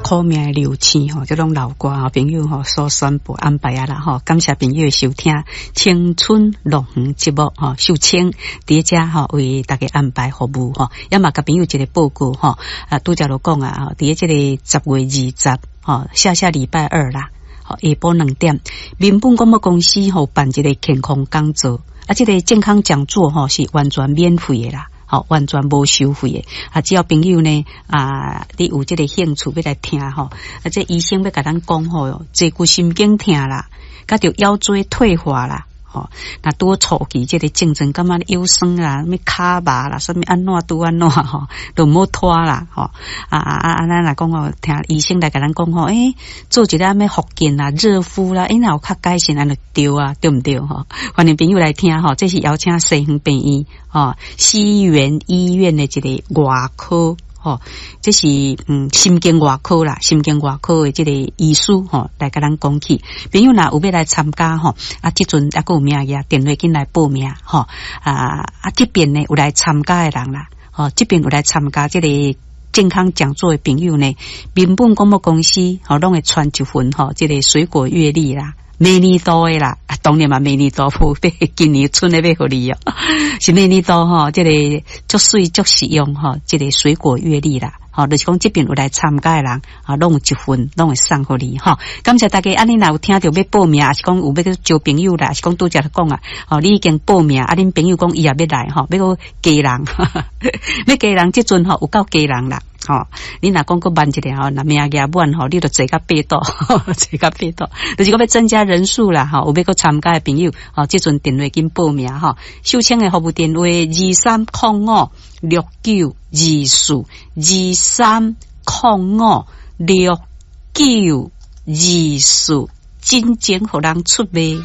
苦命的流星吼，這攏老歌吼，朋友吼所宣布安排啊啦吼，感謝朋友的收聽《青春樂園》節目吼，秀清佇遮吼為大家安排服務吼，也嘛共朋友一個報告吼，啊，拄才就講啊，佇這個10月20吼，下下禮拜二啦，下晡2點，民本廣播公司吼辦一個健康講座，啊，這個健康講座吼是完全免費的啦。吼，完全無收費的，啊，只要朋友呢，啊，你有這個興趣欲來聽吼，啊，這醫生欲共咱講吼，坐骨神經疼啦，佮著腰椎退化啦，吼，若拄初期這個症狀，感覺腰酸啦，啥物跤麻啦，啥物按怎拄按怎吼，都毋好拖啦，吼，啊啊啊！咱若講吼，聽醫生來共咱講吼，欸，做一下啥物復健啦、熱敷啦，欸，若有較改善，按呢就對啊，對毋對吼？歡迎朋友來聽吼，這是邀請西園病院吼，西園醫院的一個外科吼，這是神經外科啦，神經外科的這個醫師吼來共咱講起。朋友若有欲來參加吼，啊，這陣猶閣有名額，電話緊來報名吼，啊啊，這邊呢有來參加的人啦，吼，這邊有來參加這個健康講座的朋友呢，民本廣播公司吼攏會傳一份吼，這個水果月曆啦。明年度的啦，當然嘛，明年度無今年春的欲予你哦，是明年度吼，這個足媠足實用吼，這個水果月曆啦，吼，就是講這邊有來參加的人啊，攏有一份，攏會送予你吼。感謝大家，啊，你若有聽著欲報名，抑是講有欲去招朋友啦，抑是講拄才講啊，吼，你已經報名，啊，恁朋友講伊也欲來吼，欲閣加人，欲加人，這陣吼有夠加人啦。吼，你若講閣慢一點吼，若名額滿吼，你就坐較腹肚，坐較腹肚，就是講欲增加人數啦，吼，有欲閣參加的朋友，吼，這陣電話緊報名吼，秀清的服務電話23056924，23056924，真正予人出賣。